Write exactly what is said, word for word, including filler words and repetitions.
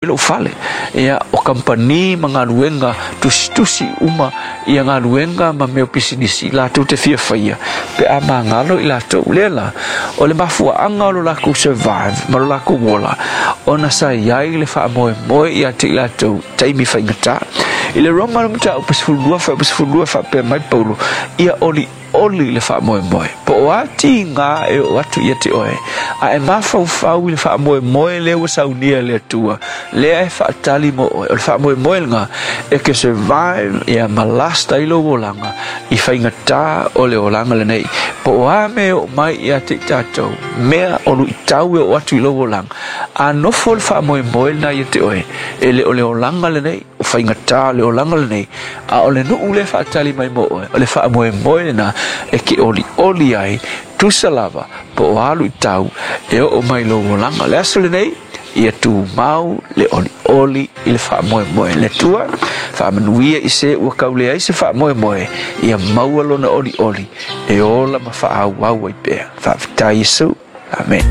Lou fale ia o kampani ma galuega tusitusi uma ia galuega ma mea o pisinisi latou te fia faia pe a magalo i latou lea la o le mafuaaga o lo lakou survive ma lo lakou ola ona sa i ai le faamoemoe ia te i latou taimi faigata. I le Roma le mataupu sefululua fuaiupu sefululua faapea mai Paulo ia oli oli le faamoemoe po o a tiga e oo atu ia te oe a e mafaufau i le faamoemoe lea ua saunia e le Atua lea e faatali mo oe. O le faamoemoe lena e ke survive ia ma last ai lou olaga i faigata o le olaga lenei. Po o a mea e oo mai ia te i tatou mea o luitau e oo atu i lou olaga a nofo le faamoemoe lena ia te oe e le o le olaga lenei o faigata o le olaga lenei a o le nuu lea e faatali mai mo oe. O le faamoemoe lena e ke olioli ai tusa lava po o a luitau e oo mai lou olaga. Le aso lenei ia tumau le olioli i le faamoemoe. Le Atua faamanuia i se ua kauleai se faamoemoe ia maua lona olioli e ola ma faaauau ai pea. Faafetai Iesu. Amen.